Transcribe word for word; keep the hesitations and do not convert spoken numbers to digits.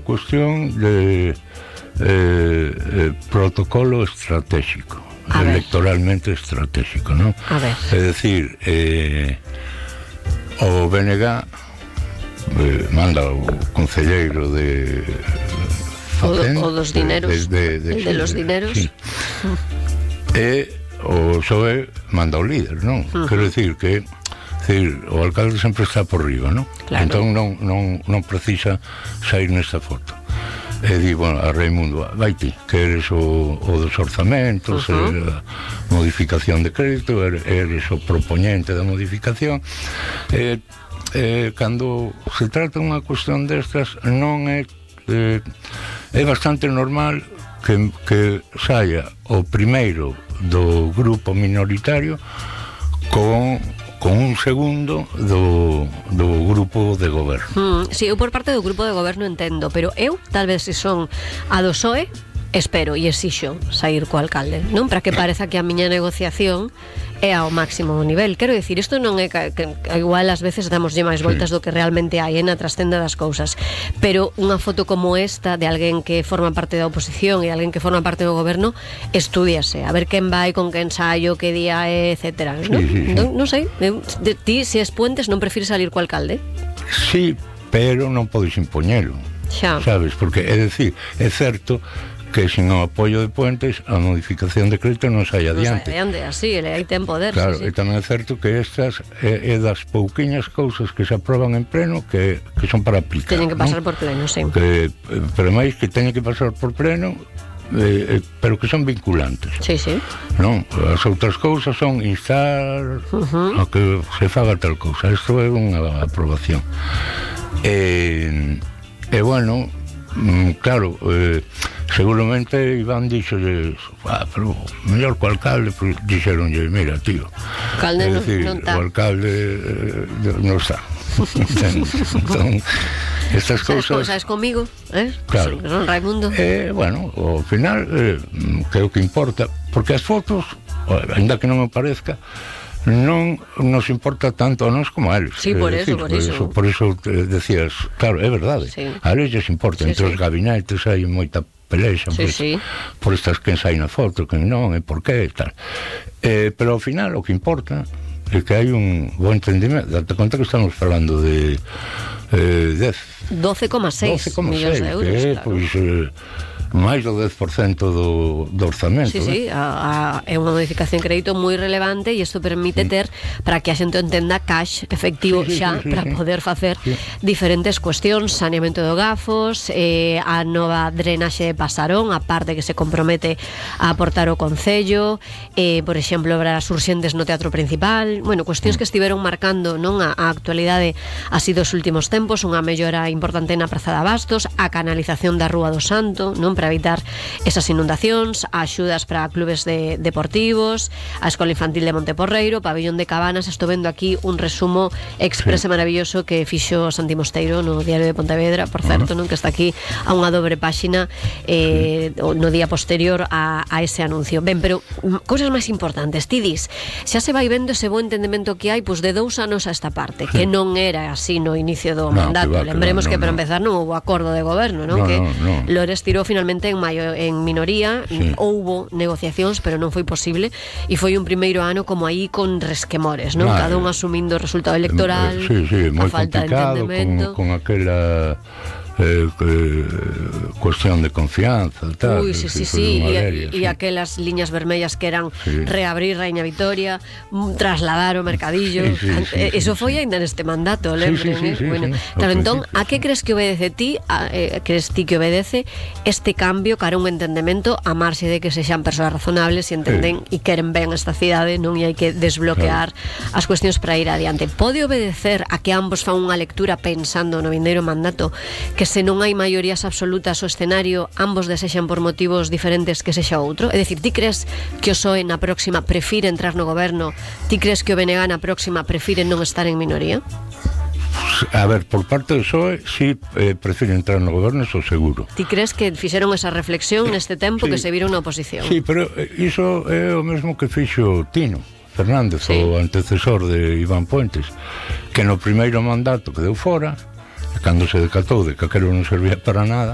cuestión de eh, eh, protocolo estratégico, electoralmente estratégico, ¿no? A ver. É dicir, eh, o B N G eh, manda o concelleiro de Facenda, o, o dos dineros, de, de, de, el de los dineros, sí. E o P S O E manda o líder, non? Uh-huh. Quero dicir que decir, o alcalde sempre está por riba, non? Claro. Entón non, non, non precisa sair nesta foto. E di, bueno, a Raimundo, vai ti, que eres o, o dos orzamentos, uh-huh. a modificación de crédito, eres o propoñente da modificación. E, e cando se trata unha cuestión destas, non é eh, é bastante normal que, que saia o primeiro do grupo minoritario con con un segundo do, do grupo de goberno. Mm, si, sí, eu por parte do grupo de goberno entendo, pero eu, tal vez se son a do P S O E, espero e exixo sair co alcalde, non? Para que pareza que a miña negociación é ao máximo nivel. Quero dicir, isto non é que, que, que igual ás veces damoslle máis voltas do que realmente hai na trascenda das cousas, pero unha foto como esta de alguén que forma parte da oposición e alguén que forma parte do goberno, estúdiase, a ver quen vai, con que ensaio, que día é, etcétera, non? Sí, sí, sí. Non, non sei, de ti, se es Puentes, non prefires salir co alcalde? Sí, pero non podes impoñelo, xa. Sabes, porque é decir, é certo que sin o apoio de Puentes a modificación de crédito non sai adiante. Non sai adiante, así, ele aí ten poder. Claro, sí, sí. E tamén é certo que estas é, é das pouquiñas cousas que se aproban en pleno que, que son para aplicar. Teñen que pasar, ¿no? por pleno, sí. Que, pero máis que teñen que pasar por pleno, eh, pero que son vinculantes. Sí, sí. Non, as outras cousas son instar uh-huh. a que se faga tal cousa. Isto é unha aprobación. E, e bueno, claro, eh, seguramente Iván dixolle, ah, pero mellor co alcalde, pues, dixeronlle, mira, tío, alcalde é dicir, non está. O alcalde eh, non está. Entón, estas cousas sabes comigo, eh? Claro. Son Raimundo. Eh, bueno, ao final eh, creo que importa, porque as fotos, ainda que non me parezca, non nos importa tanto a nós como a eles. Sí, por eso, decir, por eso. Por eso te decías, claro, é verdade. Sí. A eles lles importa, Sí, entre sí. os gabinetes hai moita pelexa, Sí, pues, sí. por estas que sai na foto, que non, e por qué, e tal. Eh, pero ao final o que importa é que hai un bo entendimento. Date conta que estamos falando de eh, dez doce coma seis millóns de euros, que é, claro. pois, eh, máis do dez por cento do, do orzamento. Sí, sí, a, a, é unha modificación de crédito moi relevante e isto permite ter, para que a xente entenda, cash efectivo sí, sí, xa sí, sí, para sí. poder facer sí. diferentes cuestións, saneamento de gafos, eh, a nova drenaxe de Pasarón, a parte que se compromete a aportar o Concello, eh, por exemplo, obras urxentes no Teatro Principal, bueno, cuestións que estiveron marcando, non, a, a actualidade así dos últimos tempos, unha mellora importante na Praza de Abastos, a canalización da Rúa do Santo, non, para evitar esas inundacións, axudas para clubes de, deportivos, a Escola Infantil de Monteporreiro, Pabellón de Cabanas. Estou vendo aquí un resumo exprese sí. maravilloso que fixo Santi Mosteiro no Diario de Pontevedra, por certo, uh-huh. non, que está aquí a unha dobre páxina eh, sí. no día posterior a, a ese anuncio. Ben, pero cousas máis importantes, ti dis, xa se vai vendo ese bo entendemento que hai, pois, de dous anos a esta parte, sí. que non era así no inicio do no, mandato. Que va, lembremos que, va, no, que para no. empezar non houve acordo de goberno, non? No, que no, no. Lores tirou finalmente en maio en minoría, sí. houbo negociacións, pero non foi posible, e foi un primeiro ano como aí con resquemores, non? Claro. Cada un asumindo o resultado electoral, sí, sí, a falta de entendemento, con, con aquela eh, eh, cuestión de confianza, tal. Uy, sí, sí, sí, e sí. aquelas liñas vermellas que eran sí. reabrir Raíña Vitoria, trasladar o mercadillo, sí, sí, sí, eso sí, foi sí. ainda neste mandato, lembren, sí, sí, sí, eh? Bueno, sí, claro, entón, sí. a que crees que obedece ti, a, eh, crees ti que obedece este cambio cara a un entendemento a marxe de que sexan persoas razonables e entenden e sí. queren ben esta cidade, non, e hai que desbloquear claro. as cuestións para ir adiante. Pode obedecer a que ambos fan unha lectura pensando no vindeiro mandato, que se non hai maiorías absolutas o escenario, ambos desexan por motivos diferentes que sexa outro? É dicir, ti crees que o P S O E na próxima prefire entrar no goberno? Ti crees que o B N G na próxima prefire non estar en minoría? A ver, por parte do P S O E si eh, prefire entrar no goberno, eso seguro. Ti crees que fixeron esa reflexión neste tempo sí. que se viron na oposición? Sí, pero iso é o mesmo que fixo Tino Fernández, sí. o antecesor de Iván Puentes, que no primeiro mandato quedou fora, cando se decatou de que aquilo non servía para nada,